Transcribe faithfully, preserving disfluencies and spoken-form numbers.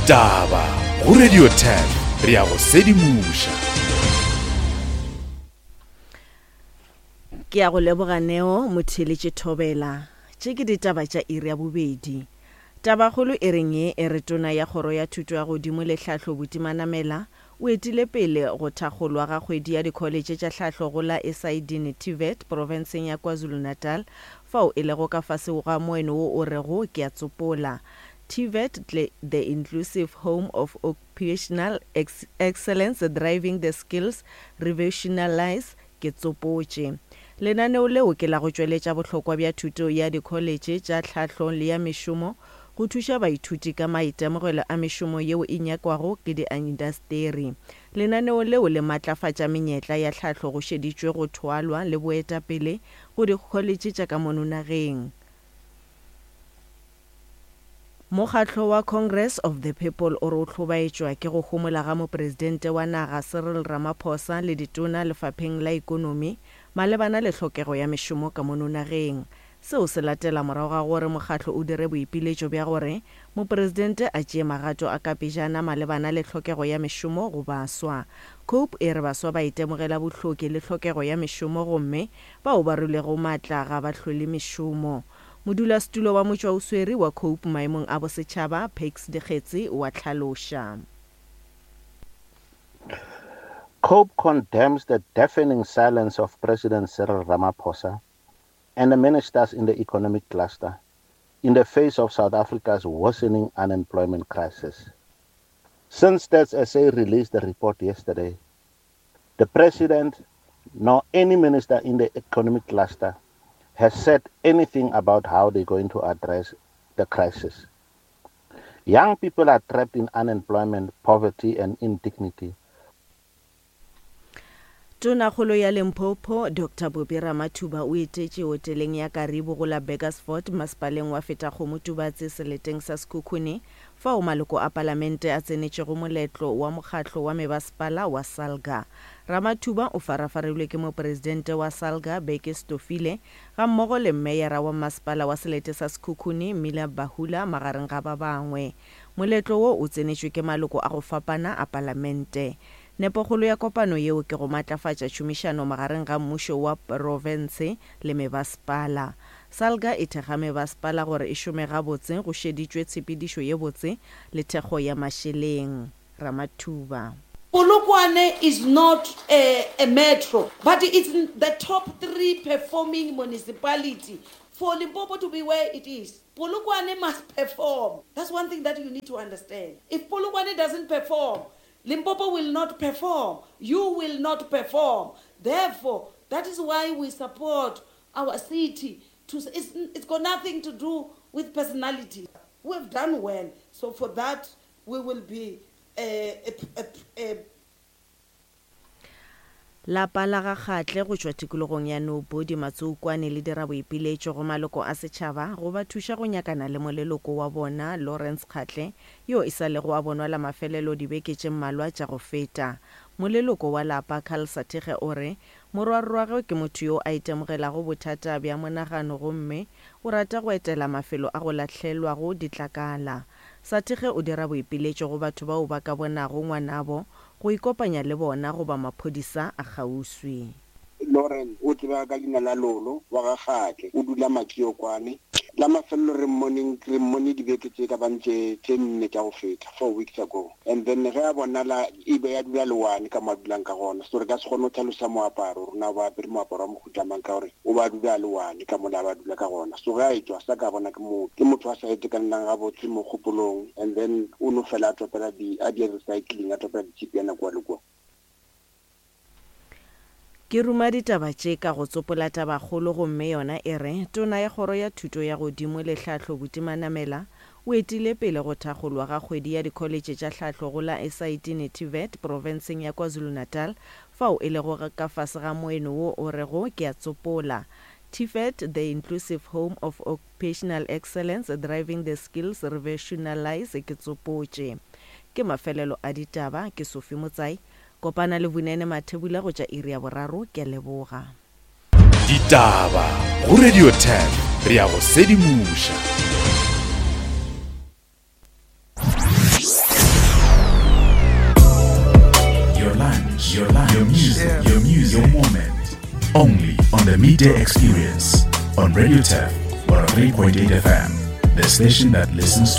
Ditaba go Radio ten re ya go sedimoša. Ke ya go leboga Neo motheeletše Thobela. Tše ke ditaba tša iri ya bobedi. Tabakgolo e reng ye e re tona ya kgoro ya thuto ya godimo le tlhahlo Buti Manamela o etile pele go thakgolwa ga kgwedi ya dikholetše tša tlhahlo go la Esayidini TVET profenseng ya KwaZulu-Natal fao e lego ka fase ga moeno wo o rego ke a tsopola TVET the inclusive home of occupational excellence driving the skills revolutionalize ke tsopotše. Lenaneo leo ke la go tšweletša bohlokwa bja thuto ya dikholetše tša tlhahlo le ya mešomo go thuša baithuti ka maitemogelo a mešomo yeo e nyakwago ke diindasteri. Lenaneo leo le matlafatša menyetla ya tlhahlo go šeditšwe go thwalwa le boetapele go dikholetše tša ka mono nageng. Mokgatlo wa Congress of the People o re o hlobaetšwa ke go homola ga mopresidente wa naga Cyril Ramaphosa le ditona lefapheng la ikonomi malebana le tlhokego ya mešomo ka mono nageng. Seo se latela morago ga gore mokgatlo o dire boipiletšo bja gore mopresidente a tšee magato a kapejana malebana le tlhokego ya mešomo go baswa. COPE e re baswa ba itemogela bohloki le tlhokego ya mešomo gomme bao ba rulego maatla ga ba hlole mešomo. Modulasetulo wa motšwaoswere wa COPE maemong a bosetšhaba Pakes Dikgetse wa tlhaloša. COPE condemns the deafening silence of President Cyril Ramaphosa and the ministers in the economic cluster in the face of South Africa's worsening unemployment crisis. Since Stats S A released the report yesterday, the president nor any minister in the economic cluster has said anything about how they're going to address the crisis. Young people are trapped in unemployment, poverty, and indignity. Tonakgolo ya Limpopo Doctor Bobby Ramathuba o etetše hoteleng ya Karibu go la Burgersfort masepaleng wa Fetakgomo Tubatse seleteng sa Sekhukhune fao maloko a palamente a tsenetšego moletlo wa mokgatlo wa mebasepala wa Salga. Ramathuba o farafarilwe ke mopresidente wa Salga Beke Stofile ga mmogo le meyara wa masepala wa selete sa Sekhukhune Mila Bahula magareng ga ba bangwe. Moletlo wo o tsenetšwe ke maloko a go fapana a palamente. Nepokgolo ya kopano yeo ke go matlafatša tšhomišano magareng ga mmušo wa profense le mebasepala. Salga e thekga mebasepala gore e šome gabotse go šeditšwe tshepedišo ye botse le thekgo ya mašeleng. Ramathuba. Polokwane is not a, a metro, but it's the top three performing municipality. For Limpopo to be where it is, Polokwane must perform. That's one thing that you need to understand. If Polokwane doesn't perform, Limpopo will not perform. You will not perform. Therefore, that is why we support our city. To, it's, it's got nothing to do with personality. We've done well. So for that, we will be a, a, a, a Lapa la ga Kgatle go tšwa tikologong ya Nobodi Matsoukwane le dira boipiletšo go maloko a setšhaba go ba thuša go nyakana le moleloko wa bona Lawrence Kgatle yo e sa lego a bonwa la mafelelo dibeke tše mmalwa tša go feta. Moleloko wa lapa Carl Sathege o re morwarrwagwe ke motho yo a itemogelago bothata bja monagano gomme o rata go etela mafelo a go lahlelwago ditlakala. Sathege o dira boipiletšo go batho bao ba ka bonago ngwanabo go ikopanya le bona goba maphodisa a kgauswi. Lauren o tsebega ka leina la Lolo wa ga Kgatle, o dula Makiokwane. La mafelelo re mmoneng, re mmone dibeke tše ka bang tše, tše nne tša go feta, four weeks ago. And then ge a bonala e be ya dula le one ka mo a dulang ka gona. So re ka se kgone go tlhalosa moaparo, rona ba apere moaparo wa mohuta mang ka gore o ba dula le one ka mola ba dula ka gona. So ge a etšwa sa ka bona ke motho, ke motho a sa itekanelang gabotse mo kgopolong, and then o no fela a topela di, a di recycling, a topela ditšhipiana kua le kua. Ke ruma ditaba tše ka go tsopola tabakgolo gomme yona e re tona ya kgoro ya thuto ya godimo le tlhahlo Buti Manamela o etile pele go thakgolwa ga kgwedi ya dikholetše tša tlhahlo go la Esayidini TVET profenseng ya KwaZulu-Natal fao e lego ka fase ga moeno wo o rego ke a tsopola TVET the inclusive home of occupational excellence driving the skills revolutionalize ke tsopotše. Ke mafelelo a ditaba ke Sophie Motsai. Kopana le Vunene Mathebula go tša iri ya boraro ke leboga. Ditaba go Radio ten re ya go sedimoša. music, your music, your moment. Only on the Midday Experience on Radio Turf one oh three point eight F M, the station that listens to